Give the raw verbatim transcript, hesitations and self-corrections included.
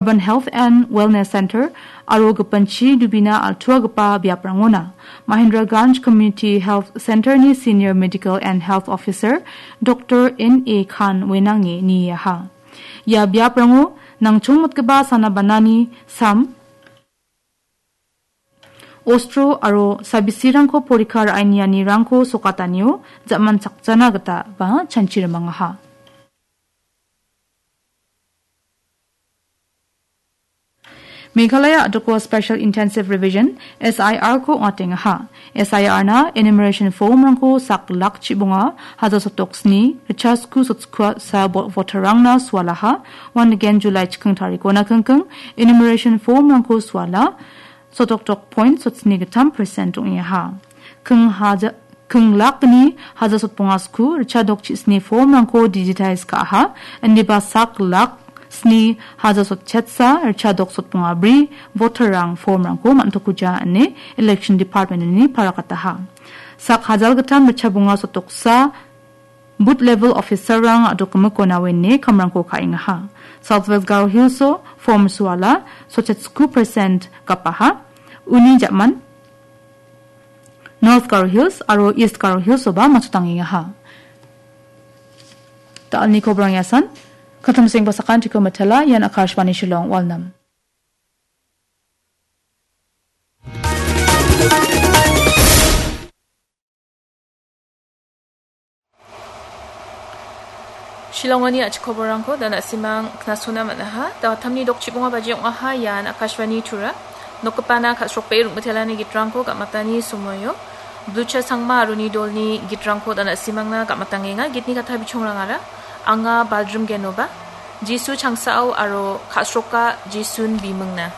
Urban Health and Wellness Center aro gipinchi dubina altuagipa biaprangona Mahendraganj Community Health Center-ni Senior Medical and Health Officer Doctor N A Khan Wenange niaha. Ia biaprango nangchongmotgipa sana banani sam, ostro aro sabisirangko porikha ra·anianirangko sokatanio ja·man chakjana gita ba chanchi rimangaha. Meghalaya a·doko Special Intensive Revision, S I R-ko ong·atengaha. S I R-na enumeration form-rangko sak lak chibonga, haja sotok sni, richa sku sotskua sa bo-, voter-rangna sualaha, uan nigen July chikking tarikona kingking, enumeration form-rangko suala, sotok tok point sotsni gittam percent ong·eha. King haja-, king lakni haja sotbonga sku, richa dok chisni form-rangko digitize ka·aha, indiba sak lak sni haja sotchetsa, richa dok sotbonga bri, voter-rang form-rangko man·tokuja ine Election Department-ni parakataha. Sak hajal gittam richa bonga sotoksa, Booth level officer-rang a·dokgimikona wene kamrangko ka·engaha. South West Garo Hills-o form suala, sotchetskku percent gapaha. Uni ja·man North Garo Hills aro East Garo Hills-oba matchotangengaha. Da·alni kobrang iasan, katamseng basakantiko matela, ian Akashvani Shillong, Walnam. Shillongoni a·chik koborrangko da na·simang knasona man·aha. Da wattamni dok chibonga baji ong·aha, ian Akashvani Tura. Nokgipana ka·srokbae rongmitelani gitrangko gam·atani somoio. Blucha Sangma aro ni dolni gitrangko da na·simangna gam·atangenga. Gitni katha bichongrangara, anga Baldrim Genoba, Jisu Changsao aro Ka·sroka Jisun Bimingna.